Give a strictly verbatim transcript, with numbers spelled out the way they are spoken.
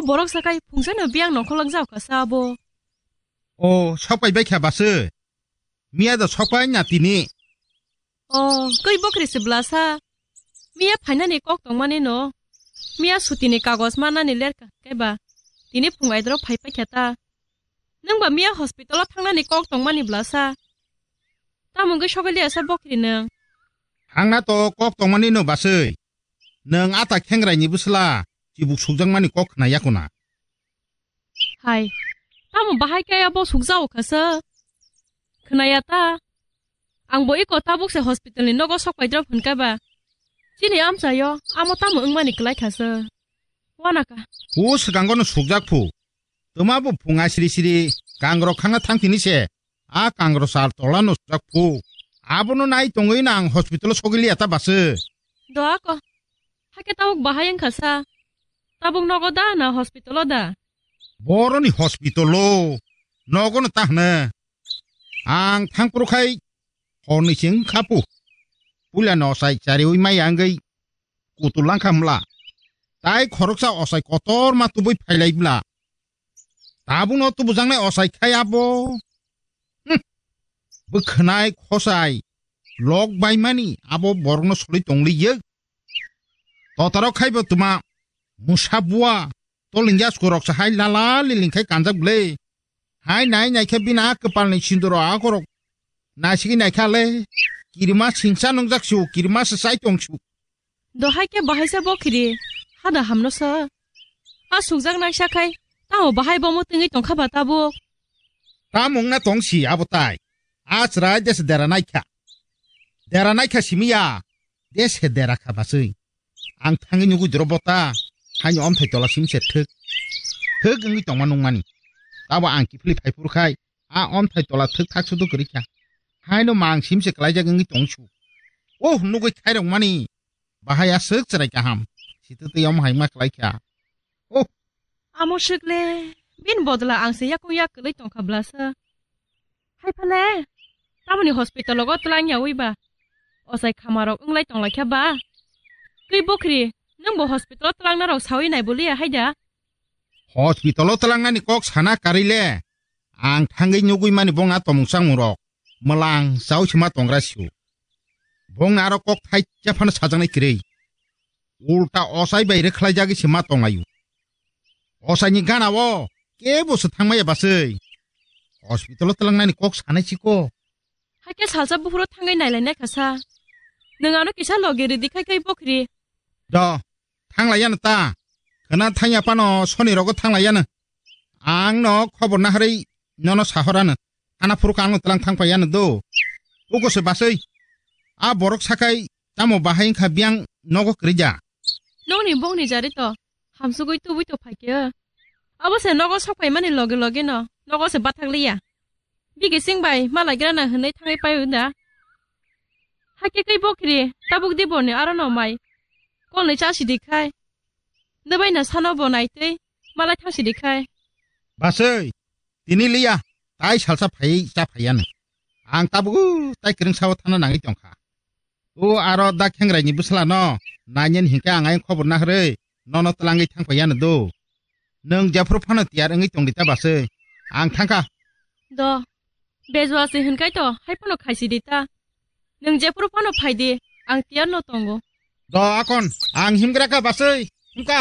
Borok sakai phungsano biyang nongkholok jao kasa abo. O, sokpai bai kha base. Miya do sokpai na tini. O, koi bokri se blasa. Miya phainani kok tongmani no. Miya sutini kagos manani lerka kaiba. Tini phung aidro phai pai kha ta. Nang ba miya hospital o thangnani kok tongmani blasa. Tamo wngwi sogwi liya sa bokri nang. Thangna to kok tongmani no baswi. Nang ata khengrai ni bwsla chibuk sukjakmani kok khna yakuna. Hai. Tamo bahai kaya bo sukjao khasa. Khna ya ta. Ang bo iko tabuk se hospital ni nogo sok paidrop hwnka ba. Chini amchayo amo tamo wngmani kwlai khasa. Wanaka. Hu swkango no sukjak phu. Tuma bo phunga siri siri kangrok khangna thangphini se. A kangrok sal tola no sujak phu. Abono nai tongwi na ang hospital o sogwi liya ta base. Doa ko. Hake tabuk bahai wngkha sa. Tabuk nogo da na hospital o da? Boroni hospital o. Nogo no ta hne. Ang thangpro khai horni sing khapu. Pula no sai chari ui mai angwi. Kutul langkha mla. Tai khoroksa osai kotor ma tubui phailai bla. Tabukno tubujaknai osai khai abo. Hm. Bwkhwnai khosai lok baimani abo borokno soli tongli ye. Totaro khaibo tuma musa bua tolingya skorok sa hai lala liling khai kanjak ble. Hai nai nai khe bini a kwpalni sindoro akorok naisigi nai kha le. Kirima singsa nungjak su, kirima se sai tong su. Dohai khe bahai se bokhiri hada hamno sa. A sukjak naisa khai tamo bahai bomo tengwi tongkha ba tabuk. Tamo wngna tong si abo tai. A chwrai dese dera nai kha. Dera nai kha simi ya. Dese dera kha baswi. Ang thangwi nugwi doro bota. Haini omthai tola sim se thwk. Thwk wngwi tongma nungmani. Tabo ang kiphilwi phai phuru khai. A omthai tola thwk thak sudu kwrwi kha. Haino mang sim se klaijak wngwi tong su. Oh, nugwi khairok mani. Bahai aswk chwrai kaham. Sitwtwi omo hai ma klai kha. Oh. Amo swk le. Bini bodla ang se yakung yak kwlwi tong kha blasa. Hai phale. Tamoni hospital o tlang ya wi ba. Osai khamarok wnglai tong lai kha ba. Twi bokhri, nwng bo hospital o tlang narok sawi nai boliya hai da? Hospital o tlang nani kok sana karwi le. Ang thangwi nugwi mani bongna tomung changmung rok. Mwlang chao se ma tongra sio. Bongni aro kok thai cha phano sajaknai kwrwi. Ulta osai bai rwkhlaijagwi se ma tonglaio. Osaini gana o kebo se thangmaya baswi. Hospital o twlangnani kok sanai chiko. Hakhe salsa buphuru thangwi nailainai kha sa. Nwng ano kisa logi rwdi khai khai bokhri. Do, thanglaiya no ta. Khwna thangya phano soni rogo thanglaiya no. Ang no khobor naharwi nono sahorano. Thana phuru kang no tlang thang paiya no do. Uko se baswi. A borok sakai tamo bahai wngkha biyang nogo kwrwija. Nokni bongni jari to hamsugwi tubui to phaikhe. Abo se nogo sok paimani loge loge no nogo se bathak liya. Bigi sing bai malai grana hwnwi thangwi paio da. Hakhe kai bokhri tabuk di boni aro no mai. Kolni cha sidi khai. Nw bai na sano bo naitwi malai thang sidi khai. Baswi. Tini liya, tai salsa phaiwi cha phaiya no. Ang tabuk tai kwrwng sao thana nangwi tongkha. O aro da khengrai ni bwsla no, nainani hinkhe ang ayang khobor naharwi, nono twlangwi thang phaiya no do. Nwng jephuru phano tiyar wngwi tongdi ta baswi. Ang thangkha. Do. Bejua se hinkai to, hai phano khaisi di ta. Nwng jephuru phano phaidi, ang tiyar no tongo. Do akon, ang himgra kha baswi.